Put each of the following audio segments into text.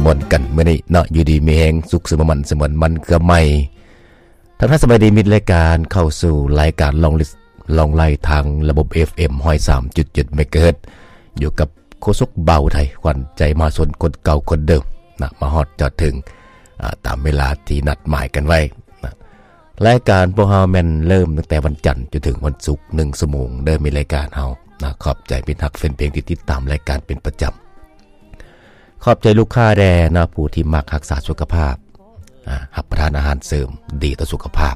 ມ່ວນກັນມື້ນີ້ເນາະ ຢູ່ດີມີແຮງ ສຸກສະເໝີມັນ ສະເໝີນມັນເກືອໃໝ່. ທັກທາຍສະບາຍດີມິດລາຍການ ເຂົ້າສູ່ລາຍການລອງລິດ ລອງໄລ່ທາງລະບົບ ເອຟເອັມ ຮ້ອຍສາມຈຸດເຈັດ ເມກາເຮີດ ຢູ່ກັບໂຄສົກບ່າວໄທ ຂວັນໃຈມະຫາຊົນຄົນເກົ່າຄົນເດີມນະ ມາຮອດຈອດເຖິງ ອາ ຕາມເວລາທີ່ນັດໝາຍກັນໄວ້ນະ. ລາຍການພວກເຮົາແມ່ນເລີ່ມຕັ້ງແຕ່ວັນຈັນຈົນເຖິງວັນສຸກ ໜຶ່ງຊົ່ວໂມງເດີ ມີລາຍການເຮົານະ. ຂອບໃຈມິດຮັກແຟນເພງທີ່ຕິດຕາມລາຍການເປັນປະຈຳ. ຂອບໃຈລູກຄ້າແດ່ນະ ຜູ້ທີ່ມັກຮັກສາສຸຂະພາບ ອາ ຮັບປະທານອາຫານເສີມດີຕໍ່ສຸຂະພາບ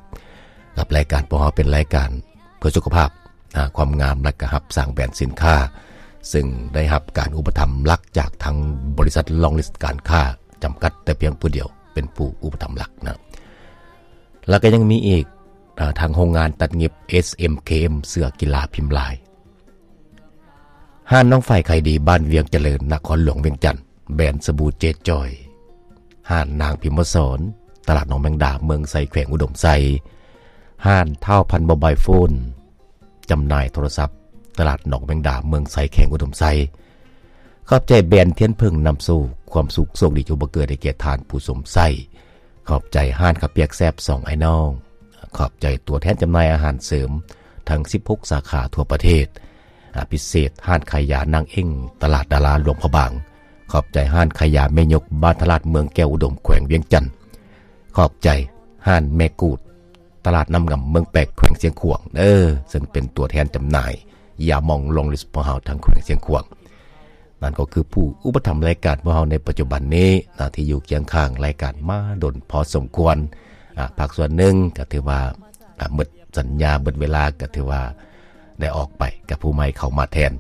ກັບລາຍການພວກເຮົາເປັນລາຍການເພື່ອສຸຂະພາບ ອາ ຄວາມງາມ ແລະກະຮັບສ້າງແບຣນສິນຄ້າ ເຊິ່ງໄດ້ຮັບການອຸປະຖຳຫຼັກຈາກທາງບໍລິສັດລອງລິດການຄ້າຈຳກັດແຕ່ພຽງຜູ້ດຽວ ເປັນຜູ້ອຸປະຖຳຫຼັກນະ. ແລະກະຍັງມີອີກ ອາ ທາງໂຮງງານຕັດຫຍິບ ເອສເອັມເຄເອັມ ເສື້ອກິລາພິມລາຍ, ຮ້ານນ້ອງຝ້າຍຂາຍດີ ບ້ານວຽງຈະເລີນ ນະຄອນຫຼວງວຽງຈັນ ແບຣນສະບູເຈຈອຍ, ຮ້ານນາງພິມມະສອນ ຕະຫຼາດໜອງແມງດາ ເມືອງໄຊ ແຂວງອຸດົມໄຊ, ຮ້ານທ້າວພັນໂມບາຍໂຟນ ຈຳໜ່າຍໂທລະສັບ ຕະຫຼາດໜອງແມງດາ ເມືອງໄຊ ແຂວງອຸດົມໄຊ. ຂອບໃຈແບຣນທຽນເຜິ້ງນຳໂຊກ ຄວາມສຸກໂຊກດີຈົ່ງບັງເກີດໃຫ້ແກ່ທ່ານຜູ້ຊົມໃຊ້. ຂອບໃຈຮ້ານເຂົ້າປຽກແຊບສອງອ້າຍນ້ອງ. ຂອບໃຈຕົວແທນຈຳໜ່າຍອາຫານເສີມທັງສິບຫົກສາຂາທົ່ວປະເທດ. ອາ ພິເສດຮ້ານຂາຍຢານາງເອັ້ງ ຕະຫຼາດດາລາ ຫຼວງພະບາງ. ຂອບໃຈຮ້ານຂາຍຢາແມ່ຍົກ ບ້ານທະລາດ ເມືອງແກ້ວອຸດົມ ແຂວງວຽງຈັນ. ຂອບໃຈຮ້ານແມ່ກູດ ຕະຫຼາດນ້ຳງຳ ເມືອງແປກ ແຂວງຊຽງຂວາງເດີ ເຊິ່ງເປັນຕົວແທນຈຳໜ່າຍຢາໝອງລອງລິດພວກເຮົາທາງແຂວງຊຽງຂວາງ. ນັ້ນກໍຄືຜູ້ອຸປະຖຳລາຍການພວກເຮົາໃນປັດຈຸບັນນີ້ນະ ທີ່ຢູ່ຄຽງຂ້າງລາຍການມາດົນພໍສົມຄວນ. ອາ ພາກສ່ວນໜຶ່ງກໍຖືວ່າ ອາ ໝົດສັນຍາ ໝົດເວລາ ກໍຖືວ່າໄດ້ອອກໄປ ກັບຜູ້ໃໝ່ເຂົ້າມາແທນ